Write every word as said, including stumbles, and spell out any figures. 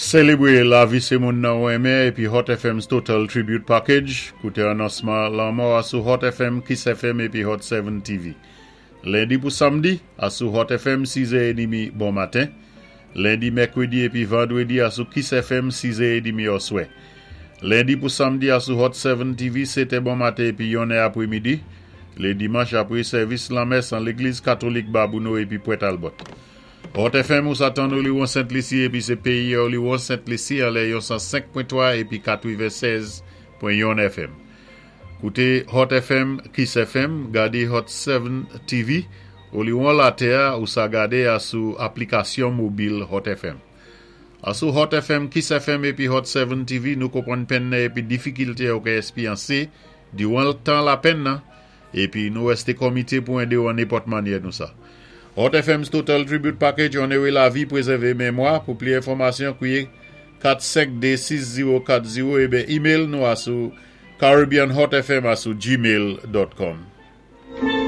Sélébwé lavi sé moun nan ou enmen épi Hot F M's Total Tribute Package. Kouté anonsman lanmò asou Hot F M, Kiss F M épi Hot sept T V. Lendi pou samdi, asou Hot F M sis è edmi bon maten. Lendi, mèkwédi épi vandwédi asou Kiss F M sis è edmi oswè. Lendi pou samdi asou Hot sept T V sétè bon maten épi yonnè apwémidi. Lé dimanch apwé sèvis lanmès an légliz katolik Babonneau épi Port Talbot. Hot F M ou sa tann Oliwon Sent Lisi épi sé péyi Oliwon Sent Lisi anlè yon san senk pwen twa épi katwennsèz pwen yon F M. Kouté Hot F M, Kiss F M, gadé Hot sept T V, Oliwon latè ou sa gadé asou aplikasyon mobil Hot F M. Asou Hot F M, Kiss F M épi Hot sept T V, nou konpwann penn nan épi difikilté ou ka éspéryansé diwan tan lapenn nan, épi nou wèsté komité pou édé ou an nenpòt mannyè nou sa. Hot F M's Total Tribute Package, onoré lavi, pwézèvé mémwa. Pou plis enfòmasyon, kwiyé kat senk de sis zewo kat zewo ébyen email nou asou caribbeanhotfm asou gmail dot com.